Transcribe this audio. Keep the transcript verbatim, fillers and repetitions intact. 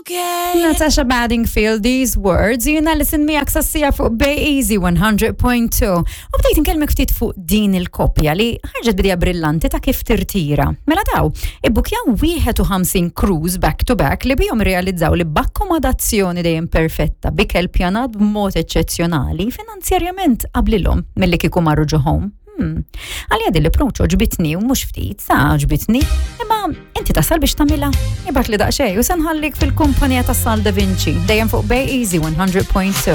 okay. Natasha Bedingfield, These Words, jiena listen miegħek sassija fuq Bay Easy one hundred point two. U bdejt nkellmek ftit fuq din il-koppja li ħarġet b'idea brillanti ta' kif tirtira. Mela daw, ibbukjaw wieħed u ħamsin cruise back to back li bihom realizzaw li b'akkomodazzjoni dejjem perfetta, b'ikel pjanat b'mod eċċezzjonali, finanzjarjament qablilhom milli kieku marru ġo home. Hmm. Għalija din l-approach għoġbitni u mhux ftit, sa għoġbitni, imma inti tasal biex tagħmilha? Ibgħatli daqsxejn u se nħallik fil-kumpanija ta' Sal Da Vinci, dejjem fuq Bay Easy one hundred point two.